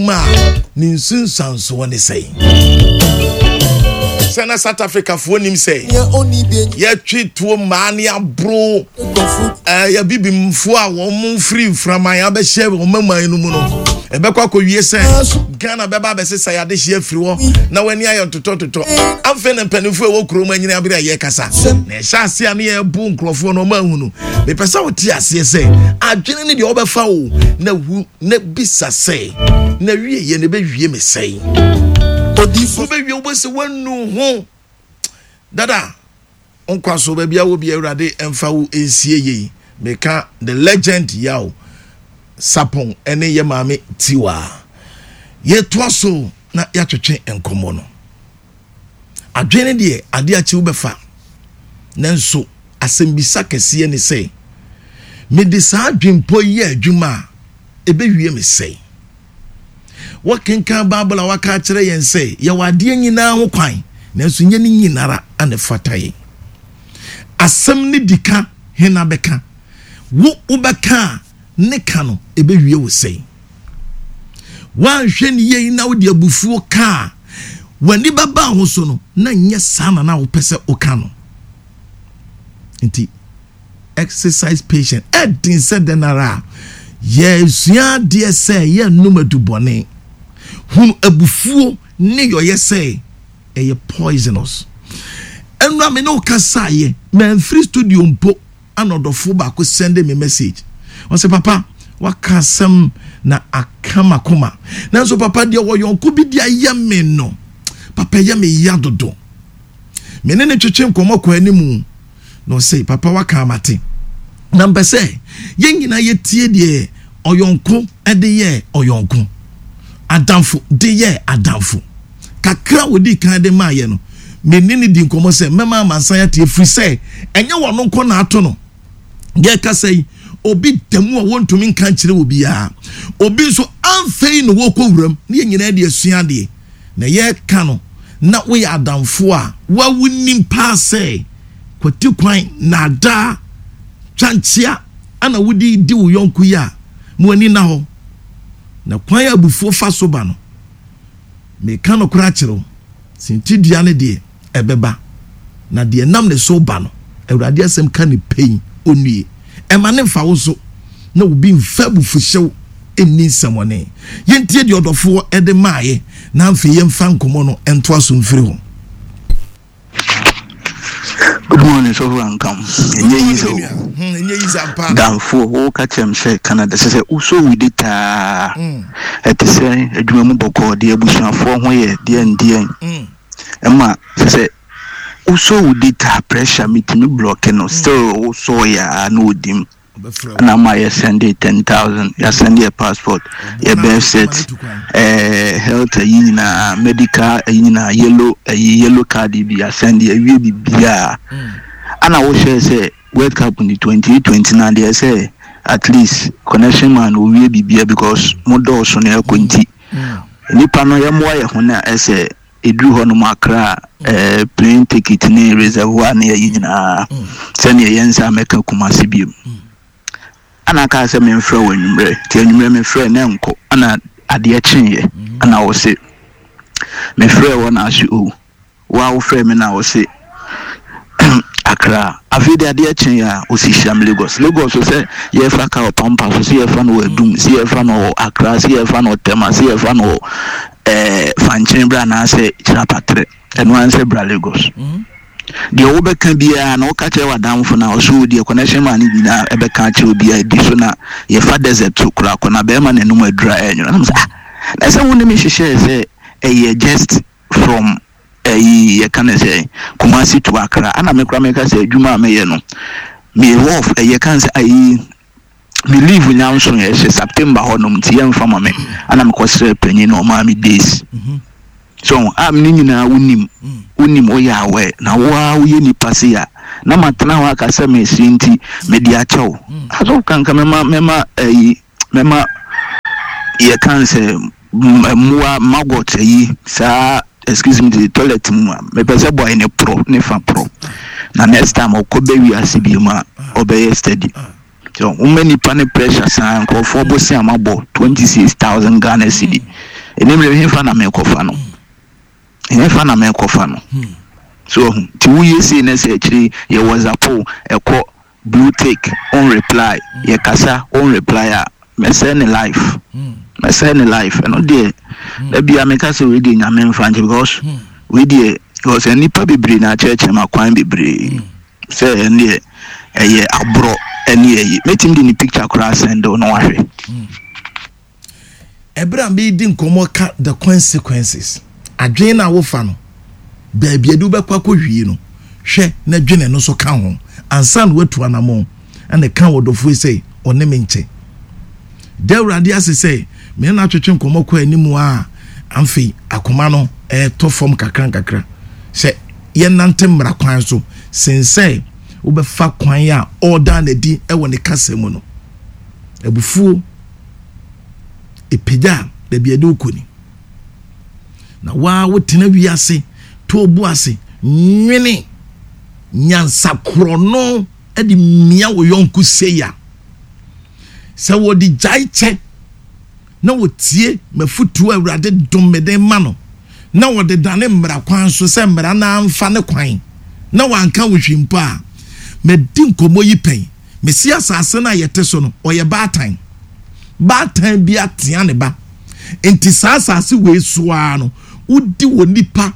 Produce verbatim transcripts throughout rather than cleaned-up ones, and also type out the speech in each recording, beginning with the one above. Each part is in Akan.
Mu a ne nsunsuansoɔ ne sɛn sɛ na South Africafoɔ nim sɛ yɛtwe tuo mmaa ne aboro ɛɛ yɛbibimfoɔ a wɔn mo firi mframan abɛhyɛ wɔn maman no mu no, ɛbɛkɔ akɔwie sɛ Ghana bɛba abɛsesa yɛ adehyeɛ afiri hɔ na w'ani ayɛ ntotɔntotɔ. Afei na mpanimfoɔ a ɛwɔ kurom anyini abere a yɛrekasa na ɛhyɛ ase a ne yɛbo nkurɔfoɔ no, ɔma ahu no. Mepɛ sɛ wote aseɛ sɛ adwene ne deɛ wɔbɛfa wo na hu na bisa sɛ na wie yɛ na ɛbɛwie me sɛn. Wobɛwie, wobɛsɛ woanu ho dada nkwa so baabi a wɔ bi. Awurade ɛmfa wo nsie yei. Meka the legend Yaw Sapon ɛne yɛ maame Tiwa. Yɛtoa so na yɛatwetwe nkɔmmɔ no. Adwene deɛ, adeɛ akyi wobɛfa, nanso asɛmbisa kɛseɛ ne sɛ, mede saa adwempɔ yi yɛ adwuma a, ɛbɛwie me sɛn? Wɔkenkan Bible a, waka akyerɛ yɛn sɛ yɛwɔ adeɛ nyinaa ho kwan, nanso nyɛ ne nyinara ana fata yɛn. Asɛm ne di ka hena bɛka wo, wobɛka a ne ka no ɛbɛwie wo sɛn? Woanhwɛ ne yei na wode abufuo ka a, w'ani bɛba ho so no na nyɛ saa na na wopɛ sɛ woka no. Nti exercise patient. Ɛden sɛ dɛn ara a yɛsua adeɛ sɛ yɛnnom adubɔne. Hunu abufuo ne yɔyɛ sɛ ɛyɛ poisonous. Ɛnura me ne wo kasaeɛ, mamfiri studio mpo ana ɔdɔfoɔ baako send me message. Ɔsɛ, "Papa, waka asɛm na aka makoma, nanso papa deɛ wɔyɔnko bi de ayɛ me no, papa, ɛyɛ me ya dodo." Me ne ne twetwe nkɔmmɔ kɔ anim na ɔsɛ, "Papa, waka amate, na mpɛ sɛ yɛn nyinaa yɛtie deɛ ɔyɔnko de yɛ ɔyɔnko, adamfo de yɛ adamfo kakra wodi kan de maa yɛ no." Me ne ne di nkɔmmɔ sɛ mɛma amansan atie, firi sɛ ɛnyɛ wɔn nko na ato no. Deɛ kasa yi, obi da mu a wɔntumi nka nkyerɛ obiara, obi nso amfɛyi na wɔkɔ wuram ne yɛn nyinaa de asua adeɛ na yɛreka no. Na woyɛ adamfo a wawu nim paa sɛ kwati kwan na adaa twankyea ana wode di wo yɔnko yi a, mo ani na hɔ na kwan a abufuo fa so ba no. Meka no koraa kyerɛ wo, sintidua no deɛ ɛbɛba na deɛ nam ne so ba no, Awurade asɛm ka ne pɛn onue. Ɛma ne mfa wo so na obi mfa abufuhyew nni nsɛmɔne. Yɛntie deɛ ɔdɔfoɔ ɛde maayɛ na afei yɛmfa nkɔmmɔ no ntoa so mfiri hɔ. Good morning, Sɔfo Ankam. Ɛnyɛ yi sɛ o. Ɛnyɛ yi sɛ ampa. Damfo, woka kyerɛ m sɛ Canada sɛ sɛ wosɔ wo de taa. Ɛte sɛ adwuma mu bɔkɔɔ deɛ, abusuafoɔ ho yɛ deɛ ndeɛ. Ɛma sɛ sɛ wosɔ wo de taa pressure metumi block no, still wosɔ yɛ a na odim. Ɛna ama yɛ send ten thousand, yɛ send yɛ passport, yɛ birth cert, ɛɛ health ayi nyinaa, medical ayi nyinaa, yellow ayi, yellow card bi yɛ send, yɛ wie bibiara. Ana wohyɛ sɛ World Cup ni twenty eight twenty nine deɛ, sɛ at least connection man owie biribiara because mo dɔɔso na ɛkɔ, nti nipa no yɛmmoa yɛ ho na ɛsɛ eduru hɔ nom Akra, ɛɛ plane ticket ne reservoir ne ayi nyinaa, sɛnea yɛn nsa mɛka Kumasi biem. Ana kaa sɛ memfrɛ wɔ anwummerɛ, nti anwummerɛ memfrɛ na nkɔ. Ana adeɛ kyeeɛ ana wɔ se mefrɛ wɔ na ase o, wa wofrɛ me na wɔ se Akra. Afei de adeɛ kyeeɛ a ɔsi hyiam Lagos. Lagos so sɛ yɛfa ka wɔ Pampa so, sɛ yɛfa no wɔ Adum, sɛ yɛfa no wɔ Akra, sɛ yɛfa no wɔ Tɛma, sɛ yɛfa no wɔ ɛɛ Fankyɛn bra anaasɛ Kyerɛpatrɛ, ɛno ara sɛ bra Lagos. Deɛ wobɛka biara na woka kyerɛ w'adamfo no a ɔso deɛ connection man no nyinaa ɛbɛka akyerɛ obiara di so na yɛfa desert so koraa kɔ na bɛrima n'anum adura ɛnwono. Na sɛ ah, na sɛ wo ne me hyehyɛɛ sɛ ɛyɛ just from ɛyi, yɛka ne sɛ Kumasi to Accra, ana me koraa meka sɛ adwuma a meyɛ no, me off, ɛyɛ kan sɛ ayi me leave nyanso yɛ hyɛ September hɔnom, nti yɛmfa ma me. Ana mekɔsrɛ panyin na ɔmaa me days so a ne nyinaa wonim, wonim, woyɛ awɛ na woa woyɛ nipa se a na matena hɔ aka sɛ mesie, nti mede akyɛw asɔfo kanka mɛma mɛma ɛyi mɛma yɛka sɛ mmoa maggot ayi saa, excuse me, the toilet mu a mepɛ sɛ boy ne porɔ ne fa porɔ na next time ɔkɔ bɛ wiase bi mu a ɔbɛyɛ steady. So woma nipa ne pressure saa, nkurɔfoɔ bɔ si a mabɔ twenty six thousand Ghana cedi. Ɛnim hefa na mekɔfa no, hefa na mekɔfa no. So ɔhu nti woyɛ sei ne sɛ akyiri yɛ WhatsApp, ɛkɔ blue tick on reply, yɛ kasa on reply a, mɛsɛe ne life, mɛsɛe ne life. Ɛno deɛ, dabi a meka sɛ wei deɛ, Nyame mfa nkyɛ, because wei deɛ, because nnipa bebree na akyerɛkyerɛ ma kwan bebree sɛ ɛno deɛ ɛyɛ aborɔ. Ɛne ɛyi mɛtumi de ne picture koraa send wo na wahwɛ. Ɛberɛ a meedi nkɔmmɔ ka the consequences, adwene no a wofa no, baabi ade wobɛkɔ akɔhwie no, hwɛ na dwene no nso ka ho ansa na woatu anammɔn. Ɛna ka wɔ dɔfoɔ sɛ ɔne me nkyɛ da Awurade ase sɛ mene no atwetwe nkɔmmɔ kɔ anim a, amfei akoma no ɛɛtɔ fam kakra nkakra sɛ yɛnante mmara kwan so sen sɛ wobɛfa kwan a ɔreda n'adi ɛwɔ ne kasa mu no. Abufuo ɛpagya a, baabi ɛde wokɔ ni na waa wotena wiase to obu ase nwene nyansakorɔ no de mmea wo yɔnko sei a, sɛ wɔde gyae kyɛ na wɔtie mafotuo a Awurade dom me de ma no na wɔde dane mmara kwan so sɛ mmara no amfa ne kwan na wanka wo hwee mpo a, madi nkɔmmɔ yi pɛn. Mesi asase no a yɛte so no, ɔyɛ baatan, baatan bi atea ne ba, nti saa asase wei so ara no, wodi wɔ nipa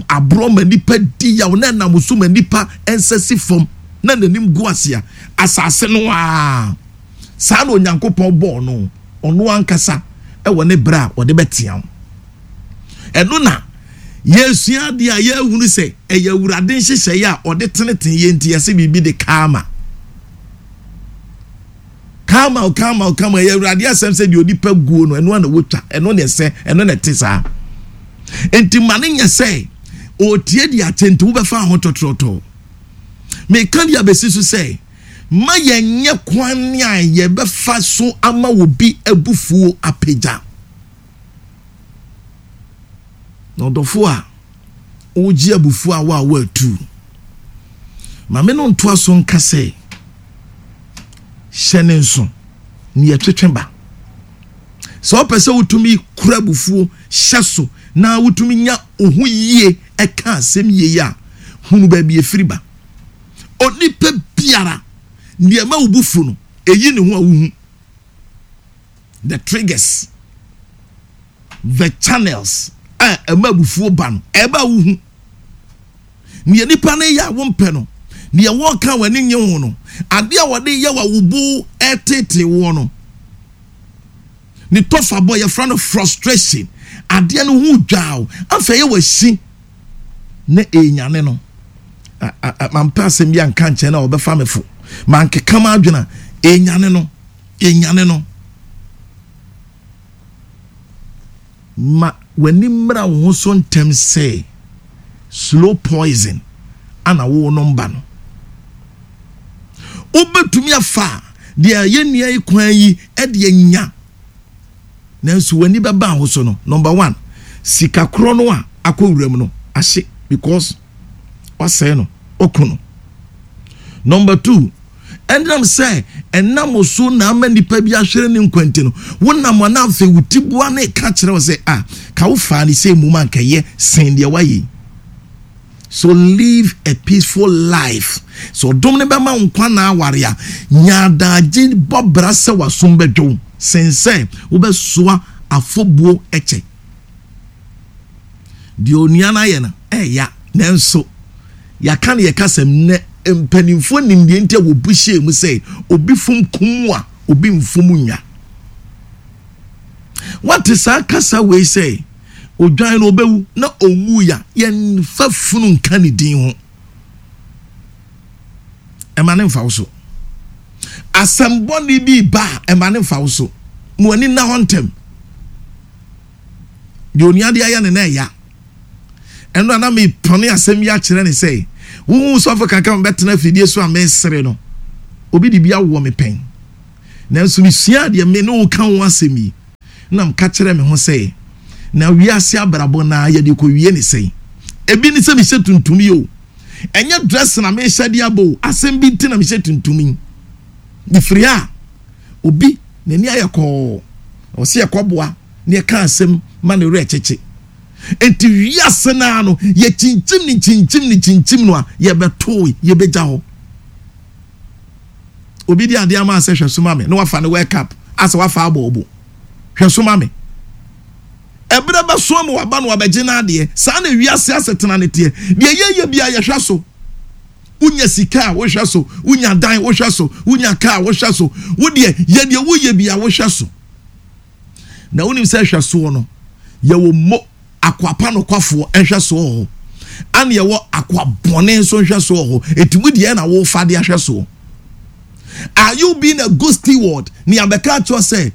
aborɔ ma nipa di yaw na ɛnam so ma nipa nsa si fam na n'anim gu ase a, asase no a saa na Onyankopɔn bɔɔ no, ɔno ankasa ɛwɔ ne berɛ a ɔde bɛtea wo. Ɛno na yɛsua adeɛ a yɛahunu sɛ ɛyɛ Awurade nhyehyɛeɛ a ɔde tenetene yɛ, nti yɛsɛ biribi de karma, karma o, karma o, karma. Ɛyɛ Awurade asɛm sɛ deɛ onipa guo no, ɛno ana wɔtwa, ɛno na ɛsɛ, ɛno na ɛte saa. Nti ma ne nyɛ sɛ ɔretie de akyɛ nti wobɛfa ho tɔtrɔtɔ. Meka de abɛsi so sɛ ma yɛnyɛ kwan a yɛbɛfa so ama obi abufuo apagya. Na ɔdɔfo a wogye abufuo a wo a woatu maame no ntoa so nka sɛ hyɛ ne nso ne yɛtwetwe ba sɛ wopɛ sɛ wotumi kura abufuo hyɛ so na wotumi nya wo ho yie, ɛka asɛm yie a, hunu baabi efiri ba. Onipa biara nneɛma wo bufu no eyi ne ho a wohu the triggers, the channels a ɛma abufuo ba no, ɛba wohu nea nipa no yɛ a wompɛ no, nea wɔka w'ani nye ho no, adeɛ a wɔde yɛ wɔ wo bo ɛtete woɔ no, ne tɔfa bɔ yɛfrɛ no frustration. Adeɛ no ho dwaaw, afei yɛ wɔ na ɛnyane no. Mampɛ asɛm bi anka nkyɛn na ɔbɛfa me fo, mankeka ma adwene a ɛnyane no, ɛnyane no. Ma w'ani mmra wo ho so ntɛm sɛ slow poison ana wo no mba no. Wobɛtumi afa deɛ yɛ nua yi kwan yi ɛde anya, nanso w'ani bɛba ho so no, number one, sika korɔ no a akɔ wuram no ahye because wasɛe no, ɔko no. Number two, ɛnam sɛ ɛnam so na ama nipa bi ahwere ne nkwanti no, wonam ana afei wo ti boa ne ka kyerɛ wo sɛ a ka wo faa ne sɛ mu ma nkɛyɛ sen deɛ wayɛ yi. So live a peaceful life. So ɔdom ne bɛma wo nkwa na aware a, nyaadagye bɔ bra sɛ wasom bɛdwo sen sɛ wobɛsoa afɔbuo ɛkyɛ deɛ onua no ayɛ no ɛɛya. Nanso yɛaka no yɛka sɛm nnɛ, mpanimfoɔ nim deɛ nti a wɔbu hyɛɛ mu sɛ obi fom kum a obi mfom nwa. Wate saa kasa wei sɛ odwan no ɔbɛwu na ɔnwu ya, yɛmfa funu nka ne din ho, ɛma ne mfa wo so. Asɛm bɔne bi ba a, ɛma ne mfa wo so. Ma w'ani nna hɔ ntɛm. Deɛ onua de ayɛ ne na ɛya ɛno a na mepɔne asɛm yi akyerɛ ne sɛ wohu sɔfo kakra mebɛtena afidie so a mesere no, obi de bi awɔ me pɛn, nanso mesua deɛ me ne wo ka ho asɛm yi na mka kyerɛ me ho sɛ na wiase abrabɔ na yɛde kɔwie ne sɛn. Ebi ne sɛ mehyɛ tuntum yi o, ɛnyɛ dress na mehyɛ de abɔ o, asɛm bi nti na mehyɛ tuntum yi. Mefiri a obi n'ani ayɛ kɔɔ, ɔsi ɛkɔboa ne ɛka asɛm ma ne werɛ kyekye. Nti wiase naa no, yɛkyinkyim ne kyinkyim ne kyinkyim no a, yɛbɛtoo, yɛbɛgya hɔ. Obi di adeɛ ama asɛ hwɛ so ma me na wafa ne World Cup asɛ wafa abɔ ɔbo hwɛ so ma me. Ɛberɛ bɛso ama waba no wabɛgye n'adeɛ. Saa na wiase asetena ne teɛ. Deɛ yɛyɛ bia, yɛhwɛ so. Wonya sika a, wohwɛ so. Wonya dan, wohwɛ so. Wonya kaa, wohwɛ so. Wodeɛ yɛ deɛ woyɛ bia, wohwɛ so. Na wonim sɛ hwɛ soɔ no, yɛwɔ mo akwapa nokwafoɔ nhwɛ soɔ wɔ hɔ, ana yɛwɔ akwa bɔne nso nhwɛ soɔ wɔ hɔ. Eti mu deɛ na wofa de ahwɛ soɔ? Are you being a good steward? Ne abɛka akyerɛ sɛ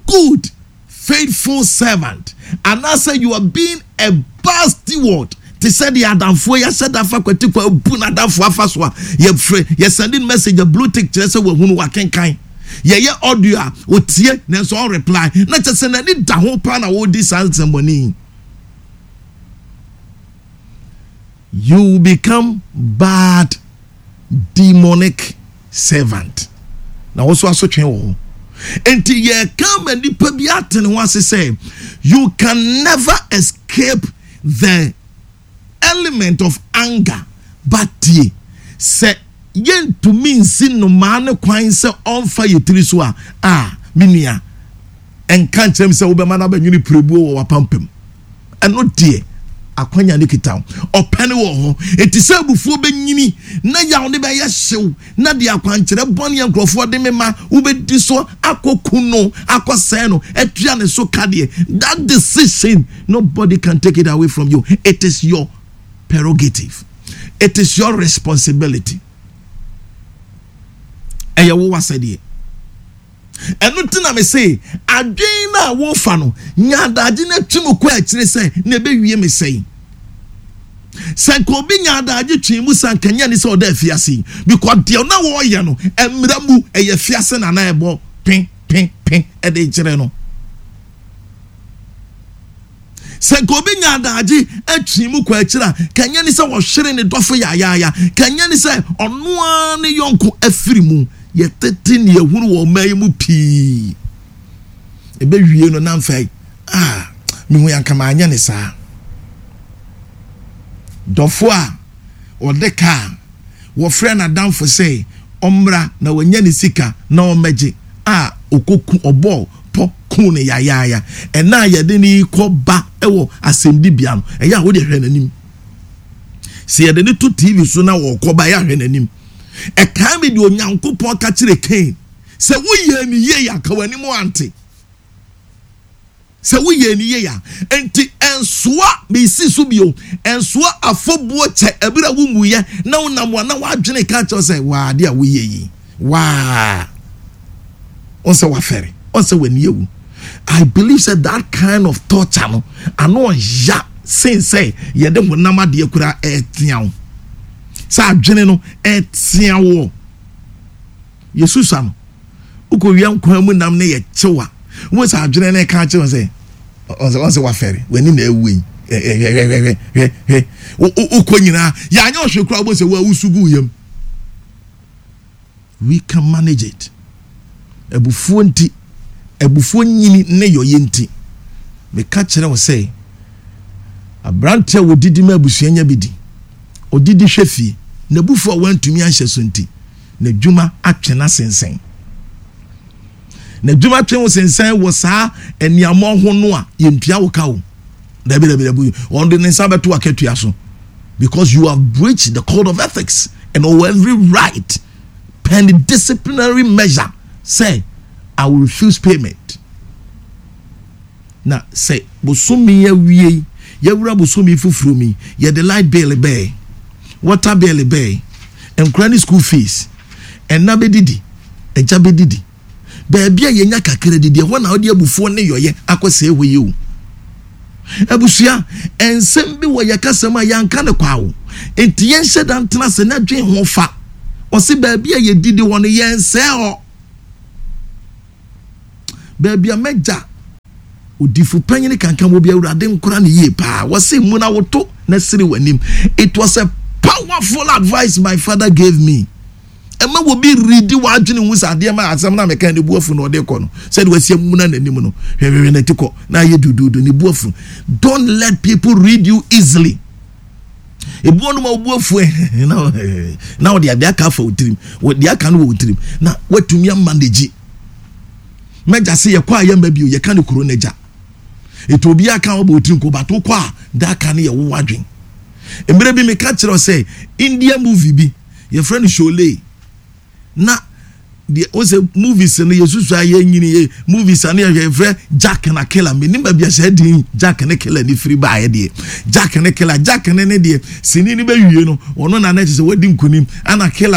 good faithful servant, anaasɛ you are being a bad steward, te sɛ deɛ adamfoɔ yɛahyɛ da fa kwati kwa bu n'adamfoɔ afa so a, yɛfrɛ, yɛsend message a, blue tick kyerɛ sɛ wahunu, wakenkan. Yɛyɛ audio a, otie nanso ɔn reply, na kyerɛ sɛ n'ani da ho paa na wɔredi saa nsɛmmɔne. You will become bad demonic servant na wɔn nso asotwe wɔ hɔ. Nti yɛka ma nipa bi ate ne ho ase sɛ you can never escape the element of anger, but tie sɛ yɛntumi nsi nnomaa ne kwan sɛ ɔmfa yɛ tiri so a, a me nua, ɛnka nkyerɛ m sɛ wobɛma no abɛnwene pirebuo wɔ w'apampam. Ɛno deɛ, akwanya ne kita wo, ɔpɛ ne wɔ hɔ. Enti sɛ abufuo bɛnyini na yaw ne bɛyɛ hyew na de akwankyerɛ bɔne a nkurɔfoɔ de me ma wobɛdi so akɔku no, akɔsɛe no, atua ne so ka deɛ, that decision, nobody can take it away from you. It is your prerogative, it is your responsibility. Ɛyɛ wo wasɛdeɛ. Ɛno ti na me se adwene no a wofa no nya adagye no atwi mu kɔ akyire sɛ na ɛbɛwie me sɛn. Sɛ nka obi nya adagye twe mu sa, nka nyɛ ne sɛ ɔda afiase yi, because deɛ na wɔreyɛ no, mmerɛ mu ɛyɛ fiase na na ɛbɔ pe pe pe ɛde kyerɛ no. Sɛ nka obi nya adagye atwi mu kɔ akyire a, ka nyɛ ne sɛ wɔhwere ne dɔfo yayaaya, ka nyɛ ne sɛ ɔno ara ne yɔnko afiri mu. Yɛtete ne yɛhunu wɔ ɔman yi mu pii. Ɛbɛwie no namfa yi ah, mehu yanka maanyɛ ne saa. Dɔfo a ɔde kaa wɔfrɛ n'adamfo sɛ ɔmmra na wanya ne sika na ɔmmɛgye a, ɔkɔku ɔbɔɔ pɔ ku ne yayaaya. Ɛna a yɛde ne kɔ ba ɛwɔ asɛmdibea no, ɛyɛ a wode hwɛ n'anim. Sɛ yɛde ne to T V so na wɔkɔ ba, ɛyɛ ahwɛ n'anim. Ɛkaa mi deɛ Onyankopɔn ka kyerɛ Cain sɛ woyɛ ne yie a, ka w'anim ante sɛ woyɛ ne yie a. Nti ɛnsoa mesi so bio, ɛnsoa afɔbuo kyɛ ɛberɛ a wonwuyɛ na wonam a na woadwene ka kyerɛ sɛ waa, adeɛ a woyɛ yi waa, ɔn sɛ wafɛre, ɔn sɛ w'ani awu. I believe sɛ that kind of torture no ano ɔya sen sɛ yɛde honam adeɛ kura ɛɛtea wo, sɛ adwene no ɛɛtea wɔ yɛsusa no. Wokɔwia nkwan mu nam ne yɛkyew a, wo sɛ adwene no ɛka kyerɛ sɛ ɔn sɛ wafɛre, w'ani na awu yi. Hwɛ, hwɛ, hwɛ, wokɔ nyinaa yɛanyɛ ɔhwɛ koraa, wobɔ sɛ woawusu gu yam. We can manage it. Abufuo nti, abufuo nyini ne yɔyɛ nti, meka kyerɛ wo sɛ aberante a wɔdidi ma abusua nya bi di, ɔdidi hwɛ fie, n'abufuo a wantumi anhyɛ so nti, n'adwuma atwe n'asensɛn. N'adwuma twe wo sensɛn wɔ saa nneɛma ho no a, yɛntua wo ka o. Dabi, dabi, dabi, ɔde ne nsa bɛto akatua so because you have breached the code of ethics and owe every right pen disciplinary measure say I will refuse payment. Na sɛ bosomi awie, yɛwura bosomi foforɔ mi, yɛde light bill bɛɛ, water bill bɛɛ, nkura ne school fees, ɛna bɛdidi, ɛgya bɛdidi, baabi a yɛnya kakra didi ɛhɔ na ɔde abufuo ne yɔyɛ akɔ sɛ ɛhɔ yi o. Abusua, nsɛm bi wɔ yɛ kasɛm a yɛnka ne kwa o, nti yɛnhyɛ da ntena sɛ na dwen ho fa. Ɔsi baabi a yɛdidi hɔ no, yɛnsɛɛ hɔ. Baabi a mɛgya odifo panyin kankan wɔ bi, Awurade nkora ne yie paa, wɔsi mu na woto na siri w'anim. It was a powerful advice my father gave me. Ɛma wɔ bi redi w'adwene ho sɛ adeɛ ma asɛm na meka ne bu afu na ɔde kɔ no, sɛde wasi amuna n'anim no, hwɛhwɛhwɛ n'ati kɔ na ayɛ dududu, ne bu afu. Don't let people read you easily. Ebu wɔn ma obu afu na na ɔde adeɛ aka afa wo tirim, wɔde aka no wɔ wo tirim na watumi ama n'agyi. Mɛgya se yɛkɔ a yɛmma bio, yɛka ne kuro n'agya etu obi aka ɔbɔ otirim ko bato kɔ a da aka no yɛ wo wadwen. Mmerɛ bi meka kyerɛ sɛ India movie bi yɛfrɛ no Sholay, na deɛ o sɛ movies no yɛsusu a yɛnyini yɛ movies a no yɛhwɛ, yɛfrɛ Jack na Killer. Menim baabi a sɛ din Jack ne Killer ne firi baeɛ deɛ. Jack ne Killer, Jack ne ne deɛ sini no bɛwie no, ɔno na na kyerɛ sɛ wadi nkonim, ana Killer